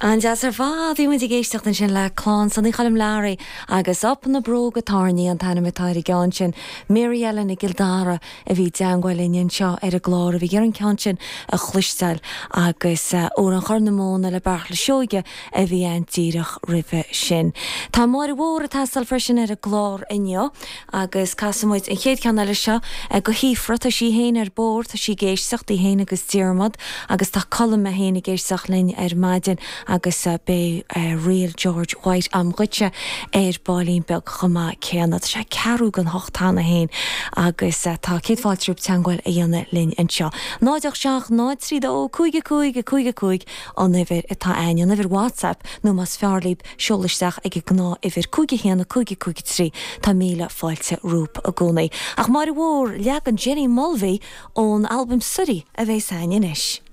An-deas ar fad! Bhí muid ag éisteacht ansin le Clann Sonaí Choilm Learaí agus Up na Bróga Tairní an t-ainm atá ar an gceann sin. Mary Ellen i gCill Dara a bhí i dteangmháil linn anseo ar an gclár a bhí ag iarraidh an ceann sin a chloisteáil agus Amhrán Chorr na Móna le Beartla Seoige a bhí ann díreach roimhe sin. Tá Máire Mhór ag teastáil freisin ar an gclár inniu. Agus casfaidh muid an chéad cheann eile seo go hSíofra. Tá sí féin ar bord, tá sí ag éisteacht, í féin agus Diarmaid, agus tá Colm é féin ag éisteacht linn ar maidin agus beidh ríl George White a'm dhuitse ar baillín beag chomh maith céanna. Tá sé ceathrú don hocht cheana féin agus tá céad fáilte romhaibh teangmháil a dhéanamh linn anseo. 0 8 7 0 3 2 5 5 5 5 an uimhir atá a'ainn, an uimhir WhatsApp nó más fearr libh seol isteach ag an ngnáth-uimhir 5 1 5 5 3. Tá míle fáilte romhaibh i gcónaí. Ach Máire Mhór, leagan Jenny Mulvey ón albam Suirí a bheas a'ainn anois.